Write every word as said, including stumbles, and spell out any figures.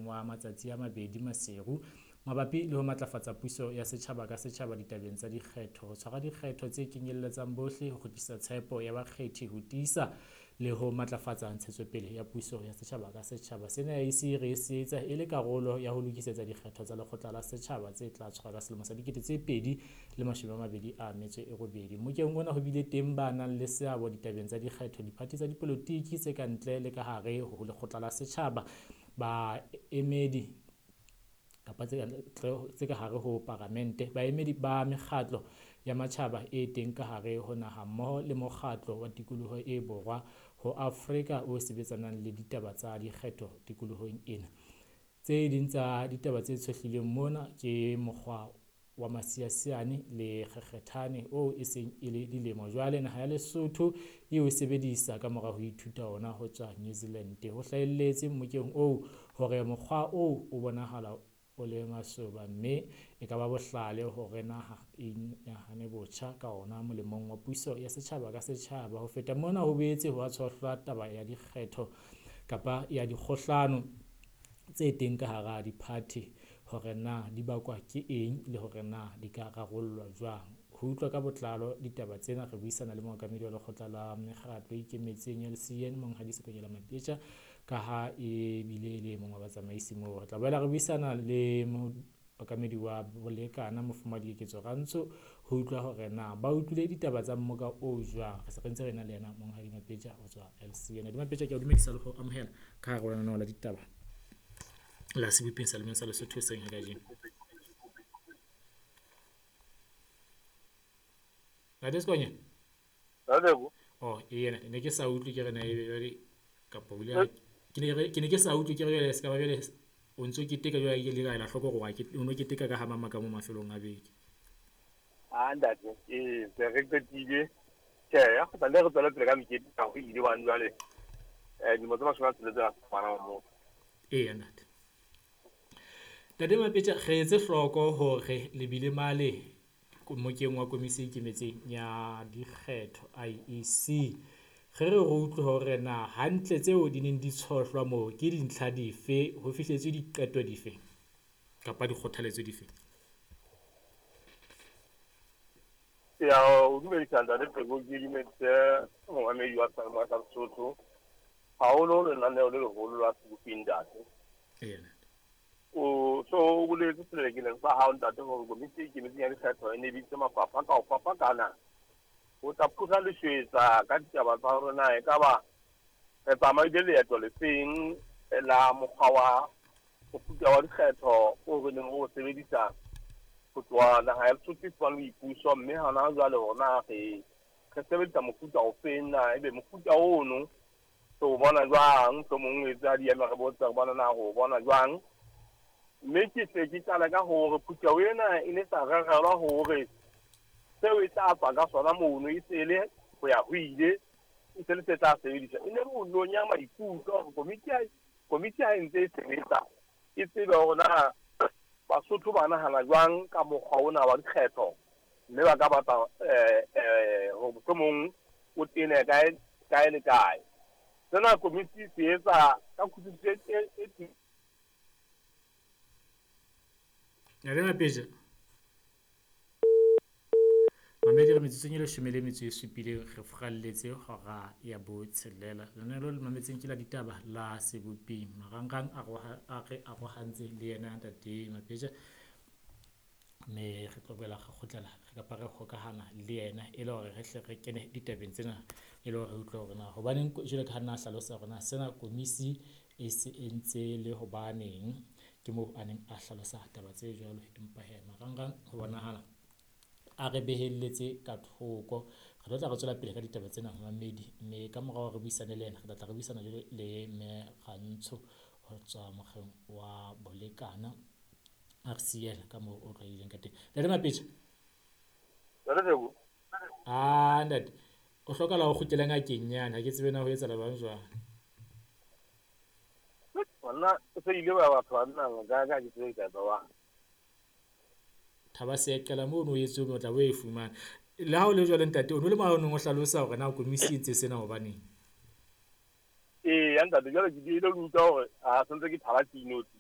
wa matsatsi a mabedi Maseru mabapi le ho matlafatsa puso ya setjhaba ka setjhaba ditabeng tsa dikgetho, ho tshwara dikgetho tse kenyelletsang bohle, ho kgutlisa tshepo ya bakgethi, ho tiisa le ho matlafatsa ntshetsopele ya puso ya setjhaba ka setjhaba. Sena I E C re se etsa e le karolo ya ho lokisetsa dikgetho tsa lekgotla la setjhaba tse tla tshwarwa ka selemo sa dikete tse pedi le mashome a mabedi a metso e robedi. Mokeng ona ho bile teng ba nang le seabo ditabeng tsa dikgetho, diphathi tsa dipolotiki tse ka ntle le ka hare ho lekgotla la setjhaba, baemedi kapa tse ka hare ho paramente, baemedi ba mekgatlo ya matjhaba e teng ka hare ho naha mmoho le mokgatlo wa tikoloho e borwa ho Afrika o sebetsanang le ditaba tsa dikgetho tikolohong ena. Tse ding tsa ditaba tse tshohlilweng mona ke mokgwa wa masiasiane le kgekgethane oo e seng e le dilemo jwale naha ya Lesotho e o sebedisa ka mora ho ithuta ona ho tswa New Zealand. Ho hlahelletse mmokeng oo hore mokgwa oo o bonahala o le masoba mme e ka ba bohlale hore naha e nahane botjha ka ona molemong wa puso ya setjhaba ka setjhaba. Ho feta mona ho boetse ho a tshohlwa taba ya dikgetho kapa ya dikgohlano tse teng ka hara diphathi hore na di bakwa ke eng le hore na di ka rarollwa jwang. Ho utlwa ka botlalo ditaba tsena re buisana le mookamedi wa lekgotla la mekgatlo e ikemetseng ya L C N Monghadi Sekonyela Mapetja ka ha e bile le mongwe wa batsamaisi moo. Re tla boela re buisana le mookamedi wa Bolekana Mofumahadi Keketso Rantsho ho utlwa hore na ba utlwile ditaba tsa mmoka oo jwang. Re se re ntse re na le yena Monghadi Mapetja ho tswa L C N. Mapetja, ke a dumedisa le ho amohela ka hare ho lenaneo la ditaba la Sebopeng sa Lemeng sa Lesotho hoseng ha kajeno. Ntate Sekonya? Ntate. Oh, ena ne ke sa utlwe ke re na ebe jwale kapa o ile ke ne ke ne ke sa utlwe ke re jwale se ka ba jwale o ntso keteka jwale ke le ka ela hloko hore ke o no keteka ka ha mama ka mo mafelong a beke. Ah ntate, eh se re qetile. Tjhe, ya go tla le re tswela pele ka mekete ka ho ile wa jwale. Eh dilemo tse mashome a tsheletseng a ngwana wa motho. Ee ntate. Ntate Mapetja, re etse hloko hore le bile male mokeng wa komisi e ikemetseng ya dikgetho I E C. Re re re utlwe hore na hantle tseo di neng di tshohlwa moo ke dintlha dife, ho fihletswe diqeto dife kapa dikgothaletso dife? Ya, o dumedisa ntate Pheko, ke dumedise momamedi wa Seyalemoya sa Lesotho, haholo lenaneo le leholo la Sebopeng ntate. Ee. O so o boletse selekeleng sa hao ntate hore komiti e ikemetseng ya dikgetho e ne bitse mafapha ka ho fapakana ho tla phutha leshwetsa ka ditaba tsa hore na ekaba re tsamaile leeto lefeng la mokgwa wa mofuta wa dikgetho o re neng o sebedisa ho tloha naha ya Lesotho e fumane boipuso, mme hona jwale hore na re re sebedisa mofuta ofeng, na ebe mofuta ono re o bona jwang, mohlomong o etsa di eme re botsa re bona na re o bona jwang. Mme ke se ke qala ka hore phutheho ena e ne sa rerelwa hore seo e tla tswa ka sona mono e se le ho ya ho ile, e se le se tla sebediswa. E ne re o nonya maikutlo hore komiti ha komiti ha e ntse e sebetsa e tsebe hore na Basotho ba nahana jwang ka mokgwa ona wa dikgetho, mme ba ka batla eh eh hore mohlomong o tene kae kae le kae. Sena komiti se etsa ka kutlwisiso e e Ntate Mapetja, mamedi re metsotsong e leshome le metso e supileng re furalletse hora ya botshelela. Lenaneo le mametseng ke la ditaba la Sebopeng. Marangrang a re arohantse le yena Ntate Mapetja, mme re tlo boela re kgutlela re kapa re hokahana le yena e le hore re hle re kene ditabeng tsena e le hore re utlwe hore na hobaneng jwalo ka ha nna a hlalosa hore na sena komisi e se entse le hobaneng. Ke moo a neng a hlalosa taba tse jwalo, empa he marangrang ho bonahala a re behelletse ka thoko. Re tlo tla re tswela pele ka ditaba tsena mamedi, mme ka morao re buisane le yena re tla tla re buisana jwale le mme Rantsho ho tswa mokgeng wa Bolekana R C L ka moo o tlwaelehileng ka teng. Ntate Mapetja. Ntate Pheko. Ah ntate, o hlokahala ho kgutlela ngakeng nyane, ha ke tsebe na ho etsahala jwang jwang. Nna se ile ba batho ba nna ka ka ke tsebe ka tsa. Thaba se qala mono o etse o tla o e fumana. Le ha o le jwale ntate, o no le maonong o hlalosa hore na komisi e ntse sena hobaneng. Ee, ya ntate, jwale ke ile utlwa hore a sentse ke thala tinotsi.